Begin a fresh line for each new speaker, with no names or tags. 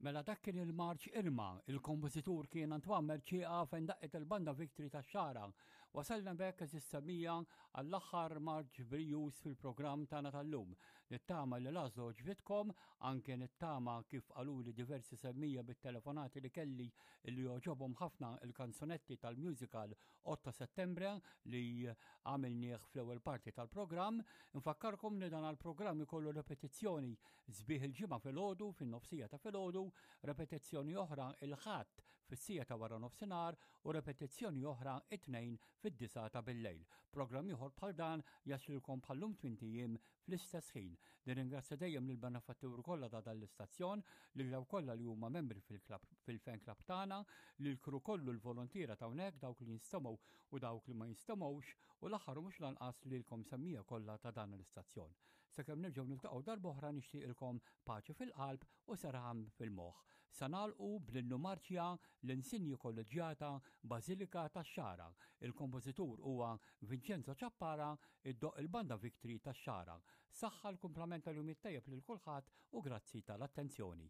Mela dak kien il-marċ Irma, il-kompożitur kien Antoine Mercieca fejn daqqet il-banda Victory tax-Xagħra. Wasalna b'hekk eżiż semmiegħa għall-aħħar marċ brijuż fil-programm tagħna tal-lum. Nittama li l-għażla għoġbitkom, anke nittama kif qaluli diversi semmiegħa bit-telefonati li kelli li għoġobhom ħafna il-kanzunetti tal-musical 8 Settembre li għamilnieh fl-ewwel parti tal-programm. Nfakkarkom li dan għall-programm ikollu repetizzjoni Sbieħ il-Ġimgħa filgħodu fin-nofsija ta' filgħodu, repetizzjoni oħra il-Ħadd fis-siegħa ta' wara nofsinhar u repetizzjoni oħra it-Tnejn fid-disgħa ta' billejl. Programm ieħor bħal dan jaslilkom bħal-lum tmint ijiem fl-istess ħin. Nirringrazzja dejjem lill-benefatturi kollha ta' dan l-istazzjon, lil dawk kollha li huma membri fil-klabb fil-fan club tagħna, lill-crew kollu l-volontiera ta' hawnhekk, dawk li jinstemgħu u dawk li ma jinstemgħux, u l-aħħar u mhux l-anqas lilkom semmiegħa kollha ta' dan l-istazzjon. Sakemm nerġgħu niltaqgħu darb'oħra nixtieqilkom paċi fil-qalb u serħan fil-moħħ. Sa nagħlqu bl-innu marċja l-Insinji Kolleġġjata Bażilika tax-Xagħra. Il-kompożitur huwa Vincenzo Ciappara, iddoqq il-Banda Victory tax-Xagħra. Saħħa l-kumplament tal-jum it-tajjeb lil kulħadd u grazzi tal-attenzjoni.